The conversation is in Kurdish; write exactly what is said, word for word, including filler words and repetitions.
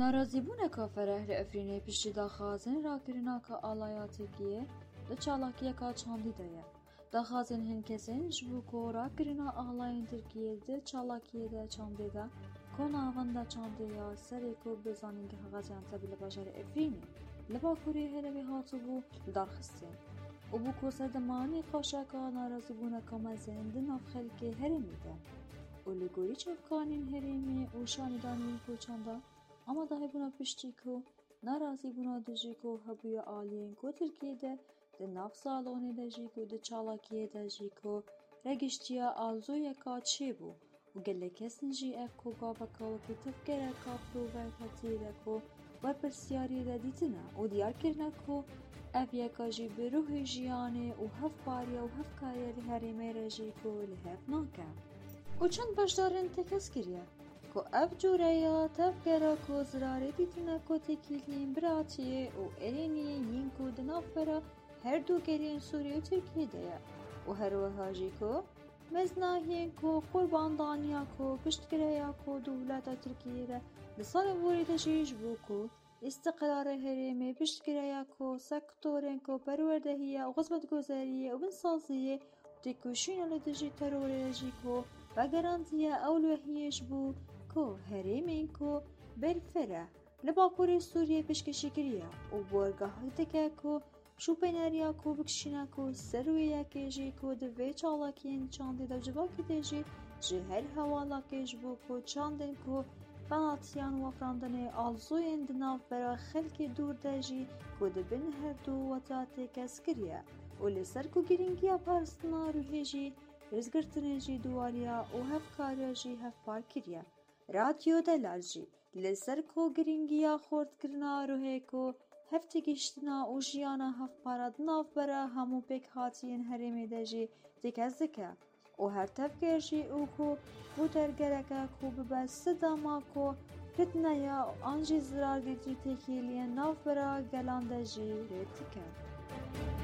Narazîbûneka fereh li Efrînê piştî daxwazên rakirina ka alaya Tirkiyê di çalakiyeka çandî de ye. Daxwazên hin kesên ji bo ku rakirina alayên Tirkiyê di çalakiyê de çandê de ku navenda çandê ya serê ku bi zanîngeh Gaziantep li bajarê Efrînê li bakurê herêmê hatibû li dar xistin û bû ku sedema nîqaşeka narazîbûneka mezin di nav xelkê herêmê de û li gorî çavkanên herêmê û şanîdanên ku çanda amadahîbûna piştî ku narazîbûna dijî ku hebûya aliyên ku Tirkiyê de di nav salonê de jî ku di çalakiyê de jî ku regiştiya alzoyeka çêbû û gelek kesin jî ev ku gaveka wekî tevgereka provokativî de ku berpirsyariyê de dîtine û diyar kirine ku ev yeka jî bi ruhê jiyanê û hevpariya û hevkariya li herêmê re jî ku li hev nake. Û çend beşdarên tekez kiriye ku ev cûreya tevgera ku zirarê dîtine ku têkiliyên biratiyê û erêniyê yên ku di navbera her du gelên Sûriyê û Tirkiyê de ye û her wiha jî ku meznahiyên ku qurbandaniya ku piştgiriya ku dewleta Tirkiyê re di salên borî de jî ji bo ku îstiqrarê herêmê piştgiriya ku sektorên ku perwerdehiya û xizmetguzariyê û binsaziyê têkoşîna li dijî terorê jî ku vegerandiye ewlehiyê ji bo ku herêmên ku berfireh li bakurê Sûriyê pêşkêşî kiriye û borgehek dike ku şûpêneriya ku bikişîne ku ser wê yekê jî ku di vê çalakiyên çandê de civakî tê jî ji her hewalakê ji bo ku çandên ku penatiyan û afirandinê alzoyên di navbera xelkê dûr de jî ku di bin her du weta têkez kiriye û li ser ku girîngiya parastina ruhê jî rêzgirtinê jî duwariya û hevkariya jî hevpar kiriye. Radyo Delal jî li ser ku girîngiya xurtkirina ruhê ku hevtêgihiştina û jiyana hevpara di navbera hemû pêkhatiyên herêmê de jî têkez dike û her tevger jî û ku ku dergereke ku bibe sidema ku fitneya an jî zirar dîtî têkiliyên navbera gelan de jî rê dike.